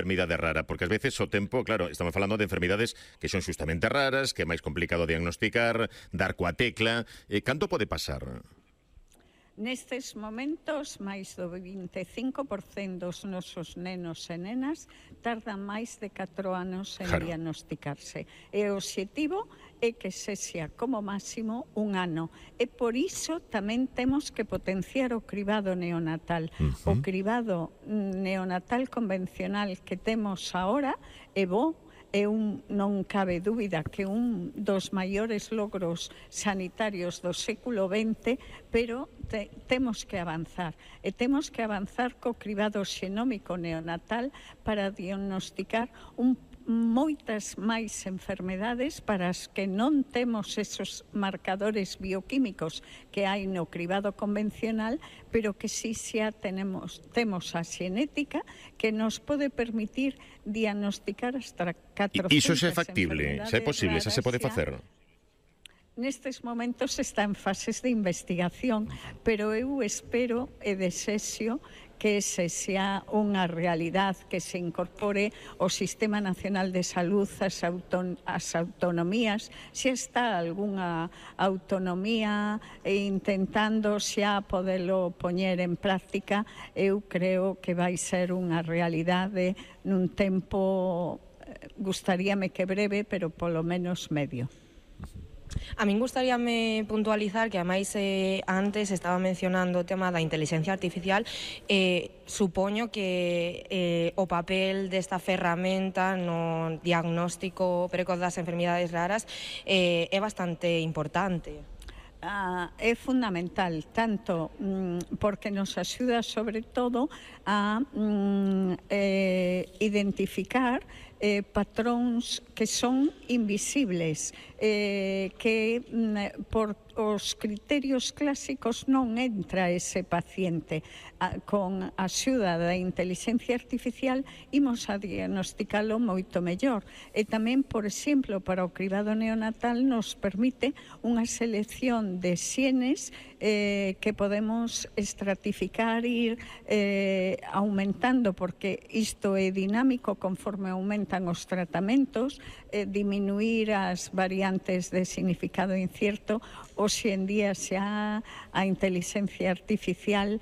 enfermidade rara? Porque ás veces o tempo, claro, estamos falando de enfermidades que son xustamente raras, que é máis complicado diagnosticar, dar coa tecla. Canto pode pasar? Nestes momentos, máis do 25% dos nosos nenos e nenas tardan máis de 4 anos en diagnosticarse. E o obxectivo é que sexa como máximo un ano. E por iso tamén temos que potenciar o cribado neonatal. O cribado neonatal convencional que temos agora é bo, non cabe dúbida que un dos maiores logros sanitarios do século XX, pero temos que avanzar. E temos que avanzar co cribado xenómico neonatal para diagnosticar moitas máis enfermedades para as que non temos esos marcadores bioquímicos que hai no cribado convencional, pero que sí xa temos a xenética que nos pode permitir diagnosticar hasta 400 Iso xa é factible, xa é posible, xa se pode facer? Nestes momentos está en fases de investigación, pero eu espero e desexo que ese sea unha realidade, que se incorpore o Sistema Nacional de Salud, as autonomías. Xa está algunha autonomía intentando xa podelo poñer en práctica. Eu creo que vai ser unha realidade nun tempo, gustaríame que breve, pero polo menos medio. A min gustaríame puntualizar que ademais antes estaba mencionando o tema da inteligencia artificial. Supoño que o papel desta ferramenta no diagnóstico precoz das enfermidades raras é bastante importante. É fundamental, tanto porque nos axuda sobre todo a identificar patróns que son invisibles, que por os criterios clásicos non entra ese paciente. Con a axuda da inteligencia artificial imos a diagnosticalo moito mellor. E tamén, por exemplo, para o cribado neonatal nos permite unha selección de xenes que podemos estratificar, ir aumentando, porque isto é dinámico conforme aumentan os tratamentos, diminuir as variantes de significado incierto. Hoxe en día xa a inteligencia artificial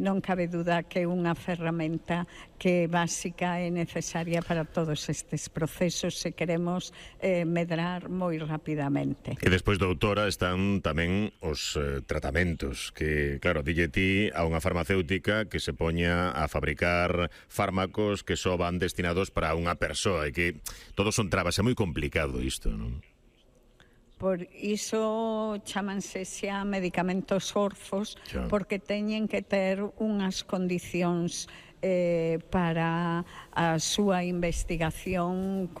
non cabe duda que é unha ferramenta que é básica e necesaria para todos estes procesos se queremos medrar moi rapidamente. E despois, doutora, están tamén os tratamentos que, claro, dille ti a unha farmacéutica que se poña a fabricar fármacos que só van destinados para unha persoa e que todos son trabas, é moi complicado isto, non? Por iso chamanse xa medicamentos orfos, porque teñen que ter unhas condicións para a súa investigación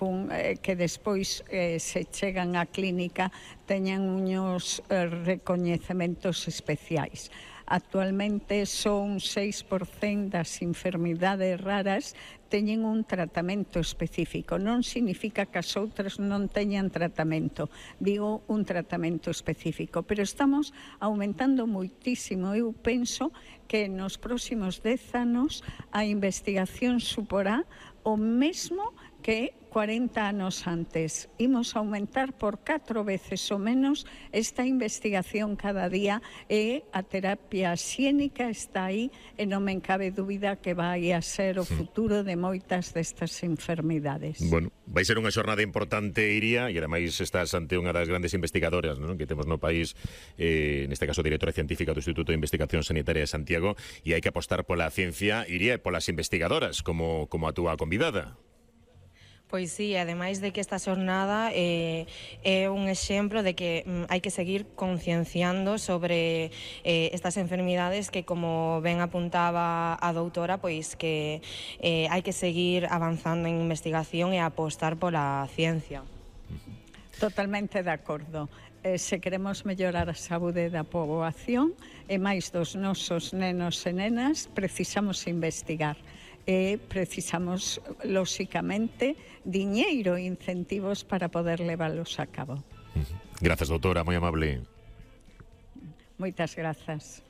que despois se chegan á clínica teñan uns recoñecementos especiais. Actualmente son 6% das enfermidades raras teñen un tratamento específico. Non significa que as outras non teñan tratamento, digo un tratamento específico, pero estamos aumentando moitísimo. Eu penso que nos próximos 10 anos a investigación suporá o mesmo que 40 anos antes. Imos aumentar por 4 veces o menos esta investigación cada día e a terapia xénica está aí e non me cabe dúbida que vai a ser o futuro de moitas destas enfermidades. Bueno, vai ser unha xornada importante, Iria, e ademais estás ante unha das grandes investigadoras, non, que temos no país, neste caso directora científica do Instituto de Investigación Sanitaria de Santiago, e hai que apostar pola ciencia, Iria, e polas investigadoras, como a túa convidada. Pois sí, ademais de que esta xornada é un exemplo de que hai que seguir concienciando sobre estas enfermidades que, como ben apuntaba a doutora, pois que hai que seguir avanzando en investigación e apostar pola ciencia. Totalmente de acordo. Se queremos mellorar a saúde da poboación e máis dos nosos nenos e nenas, precisamos investigar. E precisamos, lóxicamente, diñeiro e incentivos para poder leválos a cabo. Grazas, doutora, moi amable. Moitas grazas.